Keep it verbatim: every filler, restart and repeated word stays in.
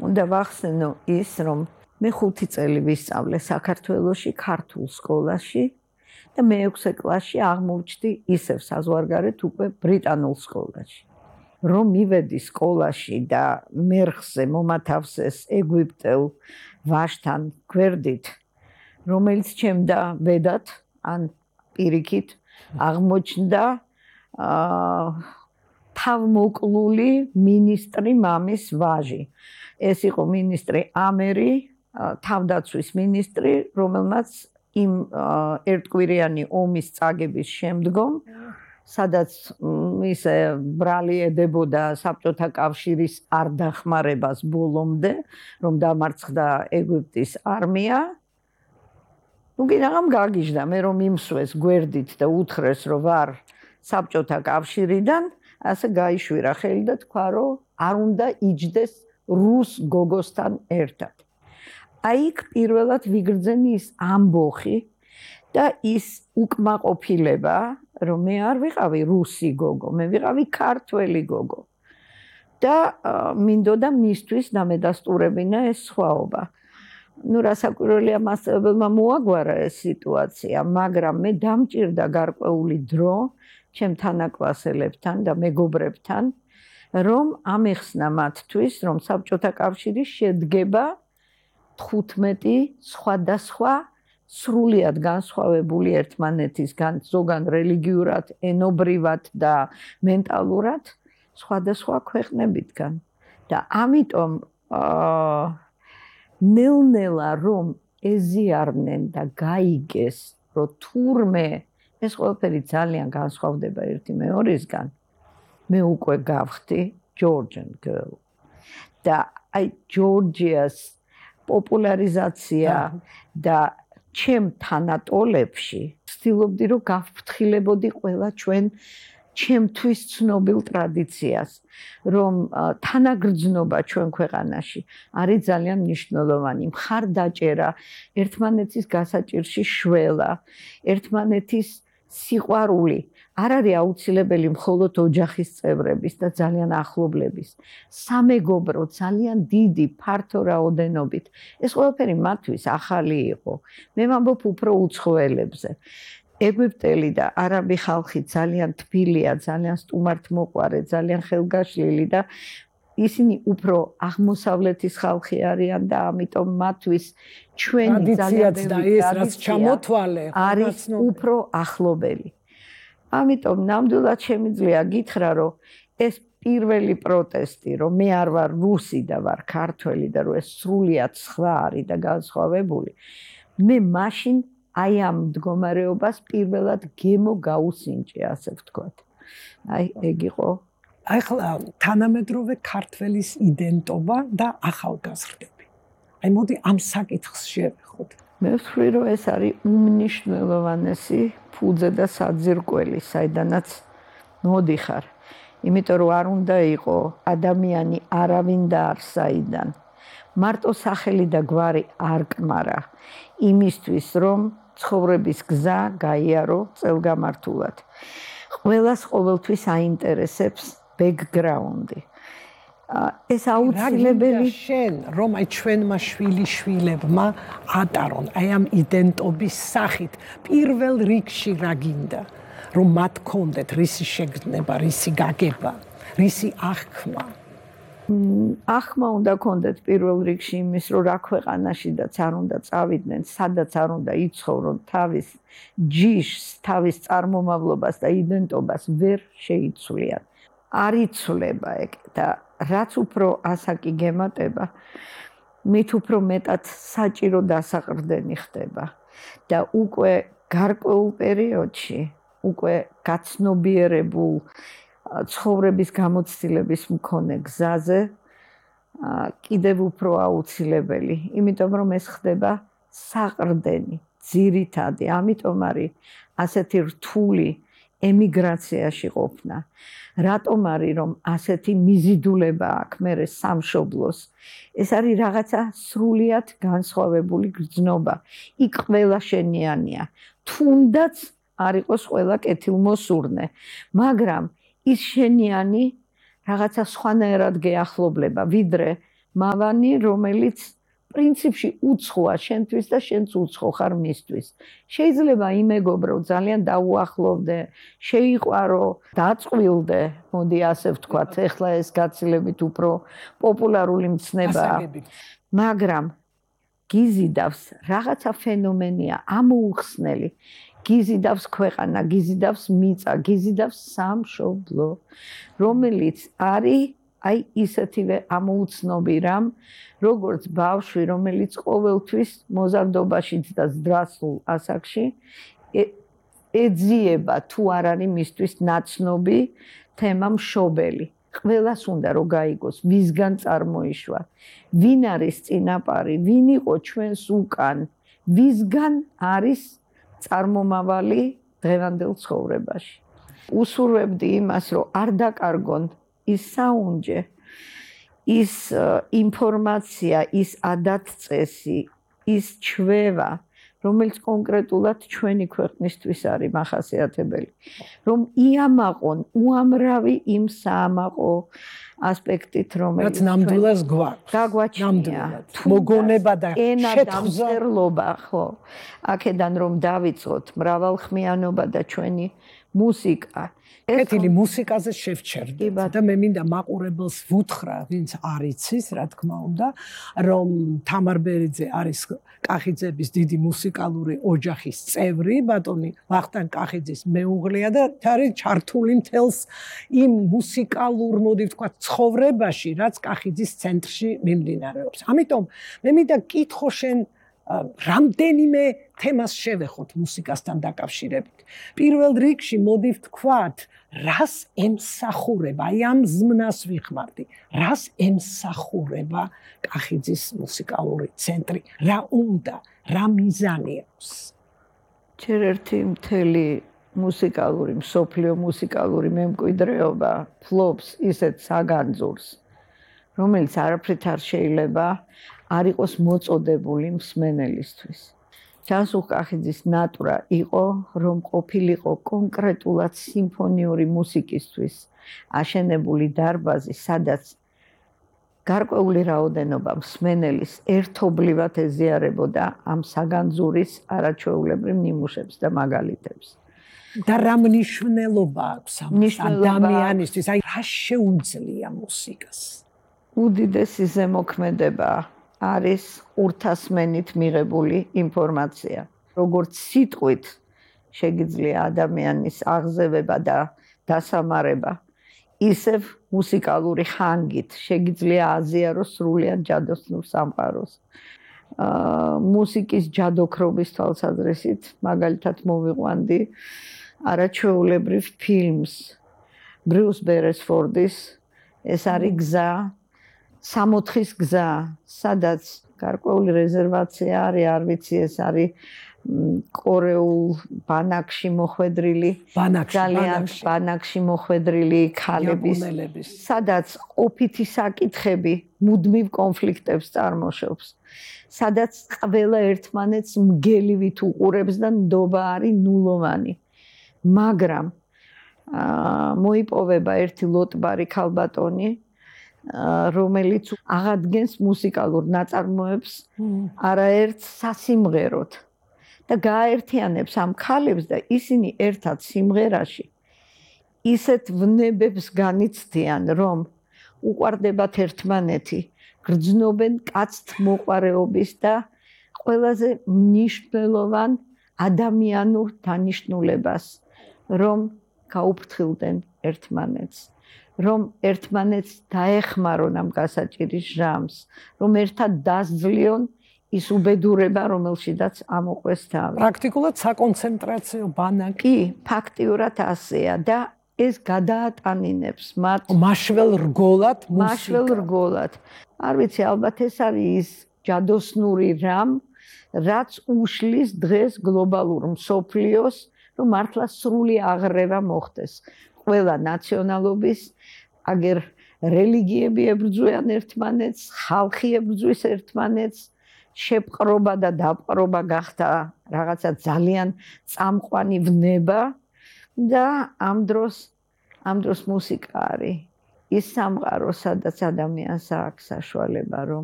უნდა ვახსენო ის, რომ მე ხუთი წელი ვისწავლე საქართველოში ქართულ სკოლაში და მეექვსე კლასში აღმოჩნდი ისევ საზღვარგარეთ უკვე ბრიტანულ სკოლაში. რომ მივედი სკოლაში და მერხზე მომათავსეს ეგვიპტელ ვაჟთან გვერდით, რომელიც ჩემდა ბედად ან პირიქით აღმოჩნდა თავმოკლული მინისტრი მამის ვაჟი. ეს იყო მინისტრი ამერი, თავდაცვის მინისტრი, რომელმაც იმ ერთკვირიანი ომის წაგების შემდგომ, სადაც ისე ბრალი ედებოდა საბჭოთა კავშირის არ დახმარებას ბოლომდე, რომ დამარცხდა ეგვიპტის არმია. ნუ კი რაღაც გაგიჟდა, მე რომ იმსვეს გვერდით და უთხრეს, რომ ვარ საბჭოთა კავშირიდან, ასე გაიშვირა ხელი და თქვა, რომ არ უნდა იჯდეს რუს გოგოსთან ერთად. აი იქ პირველად ვიგრძენი ის ამბოხი და ის უკმაყოფილება, რომ მე არ ვიყავი რუსი გოგო, მე ვიყავი ქართველი გოგო. და მინდოდა მისთვის დამედასტურებინა ეს სხვაობა. ნუ რასაკვირველია, მასწავლებელმა მოაგვარა ეს სიტუაცია, მაგრამ მე დამჭირდა გარკვეული დრო ჩემ თანაკლასელებთან და მეგობრებთან, რომ ამეხსნა მათთვის, რომ საბჭოთა კავშირი შედგება თხუთმეტი სხვადასხვა სრულიად განსხვავებული ერთმანეთისგან, ზოგან რელიგიურად, ენობრივად და მენტალურად სხვადასხვა ქვეყნებიდან. და ამიტომ ნელ-ნელა რომ ეზიარნენ და გაიგეს, რომ თურმე ეს ყველაფერი ძალიან განსხვავდება ერთი მეორისგან, მე უკვე გავხდი Georgian girl. და აი ჯორჯიას პოპულარიზაცია და ჩემ თანატოლებში ვცდილობდი, რომ გავფრთხილებოდი ყველა ჩვენ ჩემთვის ცნობილ ტრადიციას, რომ თანაგრძნობა ჩვენ ქვეყანაში არის ძალიან მნიშვნელოვანი, მხარდაჭერა, ერთმანეთის გასაჭირში შველა, ერთმანეთის სიყვარული არ არის აუცილებელი მხოლოდ ოჯახის წევრების და ძალიან ახლობლების. სამეგობრო ძალიან დიდი, ფართო რაოდენობით. ეს ყველაფერი მათთვის ახალი იყო. მე ვამბობ უფრო უცხოელებზე. ეგვიპტელი და არაბი ხალხი ძალიან თბილია, ძალიან სტუმართმოყვარე, ძალიან ხელგაშლილი და ისინი უფრო აღმოსავლეთის ხალხი არიან და ამიტომ მათთვის ჩვენი ძალიან ბევრი ტრადიცია არის უფრო ახლობელი. ამიტომ ნამდვილად შემიძლია გითხრა, რომ ეს პირველი პროტესტი, რომ მე არ ვარ რუსი და ვარ ქართველი და რომ ეს სრულიად სხვა არის და განსხვავებული, მე მაშინ აი ამ მდგომარეობას პირველად გემო გაუსინჯე, ასე ვთქვათ. აი ეგ იყო. ახლა თანამედროვე ქართველის იდენტობა და ახალგაზრდები. აი მოდი ამ საკითხს შევეხოთ. მე ვთვლი, რომ ეს არის უმნიშვნელოვანესი ფუძე და საძირკველი, საიდანაც მოდიხარ. იმიტომ რომ არ უნდა იყო ადამიანი არავინ დაარსაიდან. მარტო სახელი და გვარი არ კმარა იმისთვის, რომ ცხოვრების გზა გაიარო წელგამართულად. ყველას ყოველთვის აინტერესებს ბექგრაუნდი. ეს აუცილებელი შენ, რომ აი ჩვენმა შვილიშვილებმა ატარონ აი ამ იდენტობის სახით, პირველ რიგში რა გინდა, რომ მათ კონდეთ რისი შეგრძნება, რისი გაგება, რისი აღქმა. ახმა უნდა კონდეთ პირველ რიგში იმის, რომ რა ქვეყანაში დაც არ უნდა წავიდნენ, სადაც არ უნდა იცხოვრონ, თავის ჯიშს, თავის წარმომავლობას და იდენტობას ვერ შეიცვლიან. არ იცვლება ეგ და რაც უფრო ასაკი გემატება, მით უფრო მეტად საჭირო დასაყრდენი ხდება და უკვე გარკვეულ პერიოდში, უკვე გაცნობიერებულ ცხოვრების გამოცდილების მქონე გზაზე კიდევ უფრო აუცილებელი, იმიტომ რომ ეს ხდება საყრდენი, ძირითადი, ამიტომ არის ასეთი რთული ემიგრაციაში ყოფნა. რატომ არის რომ ასეთი მიზიდულება აქვს მერე სამშობლოს? ეს არის რაღაცა სრულიად განსხვავებული გრძნობა. იქ ყველა შენიანია. თუნდაც არ იყოს ყველა კეთილმოსურნე, მაგრამ ის შენიანი რაღაცა სხვანაირად გეახლოვლება, ვიდრე მავანი, რომელიც პრინციპში უცხოა შენთვის და შენც უცხო ხარ მისთვის. შეიძლება იმეგობრო ძალიან დაუახლოვდე, შეიყვარო, დაწყვილდე, მოდი ასე ვთქვათ, ეხლა ეს გაცილებით უფრო პოპულარული მცნებაა. მაგრამ გიზიდავს რაღაცა ფენომენია ამოუხსნელი. გიზიდავს ქვეყანა, გიზიდავს მიწა, გიზიდავს სამშობლო, რომელიც არის აი ისეთივე ამოუცნობი რამ, როგორც ბავშვი, რომელიც ყოველთვის მოზარდობაშიც და ზრდასრულ ასაკში ეძიება თუ არ არის მისთვის ნაცნობი თემა მშობელი. ყველას უნდა რომ გაიგოს, ვისგან წარმოიშვა, ვინ არის წინაპარი, ვინ იყო ჩვენს უკან, ვისგან არის წარმომავალი დღევანდელ ცხოვრებაში. უსურვებდი იმას, რომ არ დაკარგონ ის საუნჯე, ის ინფორმაცია, ის ადათ-წესი, ის ჩვევა, რომელიც კონკრეტულად ჩვენი ქვეყნისთვის არის მახასიათებელი. რომ იამაყონ უამრავი იმ საამაყო ასპექტით, რომელიც ნამდვილად გვაქვს. გაგვაჩნია. მოგონება და შეთხზერლობა, ხო. აქედან რომ დავიწყოთ მრავალხმიანობა და ჩვენი მუსიკა. კეთილი მუსიკაზე შევჩერდე და მე მინდა მაყურებელს ვუთხრა, ვინც არ იცის, რა თქმა უნდა, რომ თამარ ბერიძე არის კახიძების დიდი მუსიკალური ოჯახის წევრი, ბატონი ვახტანგ კახიძის მეუღლეა და არის ჩართული მთელს იმ მუსიკალურ, მოდი ვთქვათ, ცხოვრებაში, რაც კახიძის ცენტრში მიმდინარეობს. ამიტომ მე მინდა კითხო შენ რამდენიმე თემას შევეხოთ მუსიკასთან დაკავშირებით. პირველ რიგში მოდი ვთქვათ, რას ემსახურება, აი ამ ზმნას ვიხმარდი, რას ემსახურება კახიძის მუსიკალური ცენტრი, რა უნდა, რა მიზანი აქვს? ჯერ ერთი მთელი მუსიკალური, მსოფლიო მუსიკალური მემკვიდრეობა ფლობს ისეთ საგანძურს, რომელიც არაფრით არ შეიძლება არ იყოს მოწოდებული მსმენელისთვის. ჯანსუღ კახიძის ნატვრა იყო, რომ ყოფილიყო კონკრეტულად სიმფონიური მუსიკისთვის აშენებული დარბაზი, სადაც გარკვეული რაოდენობა მსმენელის ერთობლივად ეზიარებოდა ამ საგანძურის არაჩვეულებრივ ნიმუშებს და მაგალითებს. და რა მნიშვნელობა აქვს ამ ადამიანისთვის? აი რა შეუძლია მუსიკას? უდიდესი ზემოქმედება არის ყურთასმენით მიღებული ინფორმაცია. როგორც სიტყვით შეგიძლია ადამიანის აღზევება და დასამარება, ისევ მუსიკალური ხანგით შეგიძლია აზიაროს სრულიად ჯადოსნურ სამყაროს. მუსიკის ჯადოქრობის თვალსაზრისით, მაგალითად მოვიყვანდი არაჩვეულებრივ ფილმს ბრიუს ბერესფორდის, ეს არის გზა, სამოთხის გზა, სადაც გარკვეული რეზერვაცია არის, არ ვიცი, ეს არის კორეულ ბანაკში მოხვედრილი, ძალიან ბანაკში მოხვედრილი ქალების, სადაც ყოფითი საკითხები მუდმივ კონფლიქტებს წარმოშობს, სადაც ყველა ერთმანეთს მგელივით უყურებს და ნდობა არის ნულოვანი. მაგრამ მოიპოვება ერთი ლოტბარი ქალბატონი, რომელიც აღადგენს მუსიკალურ ნაწარმოებს არაერთ სასიმღეროდ და გააერთიანებს ამ ქალებს და ისინი ერთად სიმღერაში ისეთ ვნებებს განიცდიან, რომ უყვარდებათ ერთმანეთი, გრძნობენ კაცთ მოყვარეობის და ყველაზე მნიშვნელოვან ადამიანურ დანიშნულებას, რომ გაუფრთხილდნენ ერთმანეთს, რომ ერთმანეთს დაეხმარონ ამ გასაჭირის ჟამს, რომ ერთად დასძლიონ ის უბედურება, რომელშიდაც ამოყვეს თავი. პრაქტიკულად საკონცენტრაციო ბანაკი. კი, ფაქტიურად ასეა და ეს გადაატანინებს მათ მაშველ რგოლად მუსიკა. მაშველ რგოლად. არ ვიცი, ალბათ ეს არის ის ჯადოსნური რამ, რაც უშლის დღეს გლობალურ მსოფლიოს, რომ მართლა სრული აღრევა მოხდეს. ყველა ნაციონალობის, აგერ რელიგიები ებრძვიან ერთმანეთს, ხალხი ებრძვის ერთმანეთს, შეპყრობა და დაპყრობა გახდა რაღაცა ძალიან წამყვანი ვნება და ამ დროს ამ დროს მუსიკა არის ის სამყარო, სადაც ადამიანს აქვს საშუალება, რომ